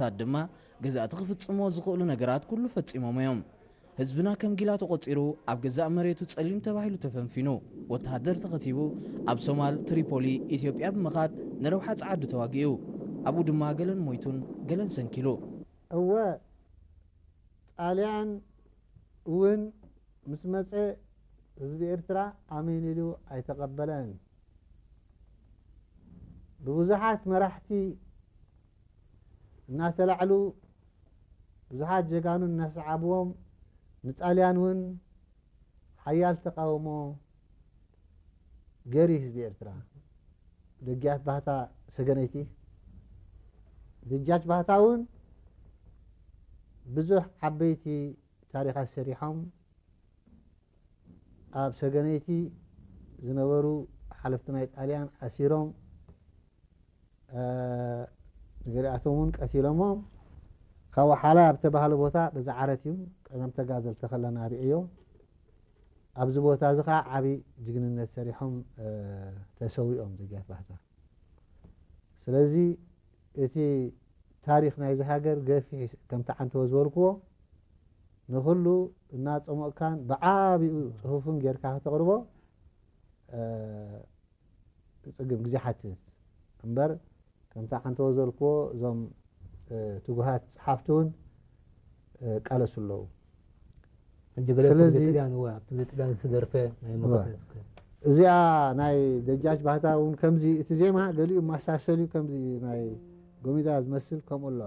ታት ድማ ገዛእቲ ክፍጽምዎ ዝኽእሉ ነገራት ኩሉ ፈጺሞም እዮም። ህዝብና ከም ጊላ ተቖጺሩ ኣብ ገዛእ መሬቱ ጸሊም ተባሂሉ ተፈንፊኑ፣ ወተሃደር ተኸቲቡ ኣብ ሶማል ትሪፖሊ ኢትዮጵያ ብምኻድ ንረብሓ ጸዓዱ ተዋጊኡ። ኣብኡ ድማ ገለን ሞይቱን ገለን ሰንኪሉ። እወ ጣልያን እውን ምስ መጸ ህዝቢ ኤርትራ ኣሜን ኢሉ ኣይተቐበለን። ብብዙሓት መራሕቲ እናተላዕሉ ብዙሓት ጀጋኑ እናሰዓብዎም ንጣልያን እውን ሓያል ተቃውሞ ገይሩ ህዝቢ ኤርትራ። ደጃች ባህታ ሰገነይቲ ደጃች ባህታ እውን ብዙሕ ዓበይቲ ታሪኻት ሰሪሖም ኣብ ሰገነይቲ ዝነበሩ ሓለፍቲ ናይ ጣልያን ኣሲሮም ገሊኣቶም እውን ቀቲሎሞም ካብ ሓላ ኣብ ተባህለ ቦታ በዛ ዓረት እዩ ቀደም ተጋደልቲ ከለና ርእዮ ኣብዚ ቦታ እዚ ከዓ ዓብዪ ጅግንነት ሰሪሖም ተሰዊኦም ደጃች ባህታ ስለዚ እቲ ታሪክ ናይዚ ሃገር ገፊሕ ከምቲ ዓንተወ ዝበልክዎ ንኩሉ እናፀሞቕካን ብዓብኡ ፅሁፍን ጌርካ ከተቕርቦ ፅግም ግዜ ሓትት እምበር ከምቲ ዓንተወ ዝበልክዎ እዞም ትጉሃት ፀሓፍቲ እውን ቃለሱ ኣለዉ። ሕጂ ገለ ስለዚ ጥልያን እወ ኣብቲ ጥልያን ዝተደርፈ ናይ መኸተ እስከ እዚኣ ናይ ደጃች ባህታ እውን ከምዚ እቲ ዜማ ገሊኡ ማሳሰል እዩ ከምዚ ናይ ጎሚዳ ዝመስል ከምኡ ኣሎ።